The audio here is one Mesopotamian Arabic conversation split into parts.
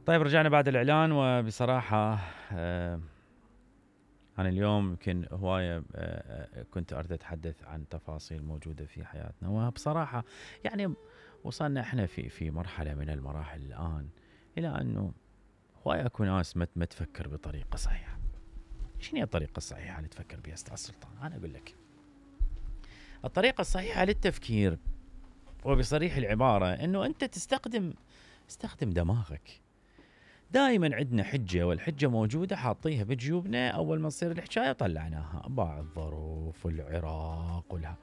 طيب رجعنا بعد الإعلان. وبصراحة أنا اليوم يمكن هواية كنت أريد أتحدث عن تفاصيل موجودة في حياتنا، وبصراحة يعني وصلنا إحنا في مرحلة من المراحل الآن إلى أنه هواية أكو ناس ما تفكر بطريقة صحيحة. شنو هي الطريقة الصحيحة اللي تفكر بها أستاذ سلطان؟ أنا أقول لك الطريقة الصحيحة للتفكير وبصريح العبارة أنه أنت استخدم دماغك. دائما عندنا حجة، والحجة موجودة حاطيها بجيوبنا أول ما تصير الحكاية طلعناها، باع الظروف والعراق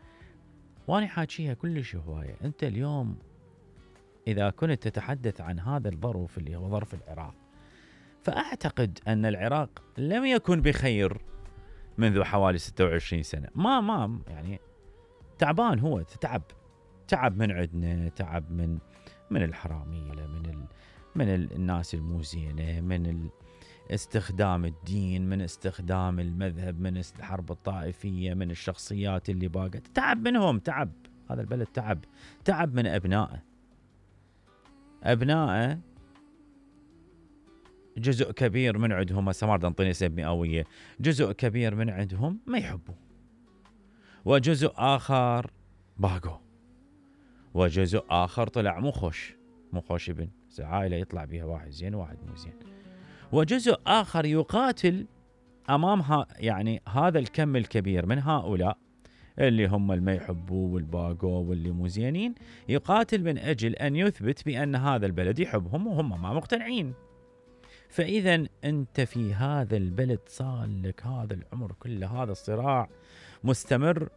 وأنا حاكيها كلش هواية. أنت اليوم إذا كنت تتحدث عن هذا الظرف اللي هو ظرف العراق، فأعتقد أن العراق لم يكن بخير منذ حوالي 26 سنة. ما يعني تعبان، هو تعب من عندنا، تعب من الحرامية، من الناس الموزينة، من استخدام الدين، من استخدام المذهب، من الحرب الطائفية، من الشخصيات اللي باقت. تعب منهم، تعب هذا البلد، تعب من أبنائه جزء كبير من عندهم، هسه ما انطيني نسب مئوية، جزء كبير من عندهم ما يحبوا، وجزء آخر باقوا، وجزء آخر طلع مو خوش ابن عائلة يطلع بها واحد زين واحد مو زين، وجزء آخر يقاتل أمامها. يعني هذا الكم الكبير من هؤلاء اللي هم اللي ما يحبوا والباقوا واللي مو زينين، يقاتل من أجل أن يثبت بأن هذا البلد يحبهم وهم ما مقتنعين. فإذا أنت في هذا البلد صار لك هذا العمر كله، هذا الصراع مستمر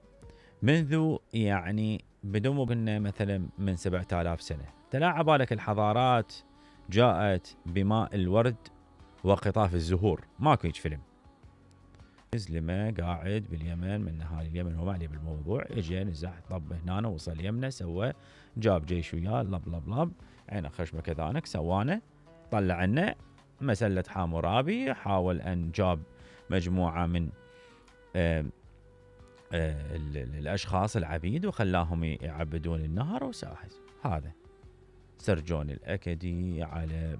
منذ يعني بدون ما قلنا مثلا من 7000 سنة. تلاعب بالك الحضارات جاءت بماء الورد وقطاف الزهور، ماكو هيج فيلم. زلمة قاعد باليمن من نهار اليمن هو معلي بالموضوع، اجى نزح طب هنا وصل يمنا، سوى جاب جيش وياه لب عينه خشمه كذانك سوانا، طلع عنا مسلة حامورابي، حاول أن جاب مجموعة من الأشخاص العبيد وخلاهم يعبدون النهر وساحز. هذا سرجون الأكدي على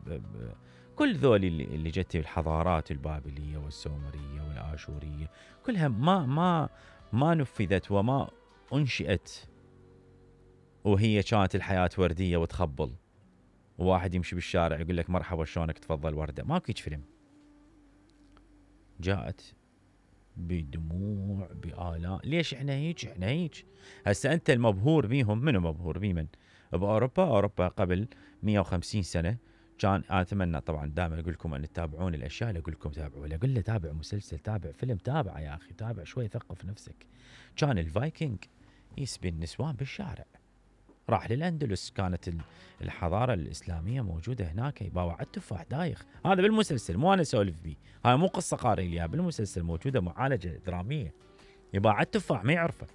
كل ذول اللي جت الحضارات البابلية والسومرية والآشورية كلها ما نفذت وما أنشئت وهي كانت الحياة وردية وتخبل، وواحد يمشي بالشارع يقول لك مرحبا شلونك تفضل وردة. ماكو هيك فيلم. جاءت بدموع بآلاء. ليش احنا هيك؟ هسه انت المبهور بيهم، منو مبهور بيمن؟ بأوروبا قبل 150 سنة كان، أتمنى طبعا دائما أقول لكم أن تتابعون الأشياء اللي أقول لكم تابعوا، أقول له تابع مسلسل، تابع فيلم، تابع يا أخي، تابع شوي، ثقف نفسك. كان الفايكنج يسبي النسوان بالشارع، راح للأندلس، كانت الحضارة الإسلامية موجودة هناك، يباوع التفاح دايخ. هذا بالمسلسل، مو أنا أسولف بيه، هاي مو قصة قارئ ليها، بالمسلسل موجودة معالجة درامية. يباع التفاح ما يعرفه،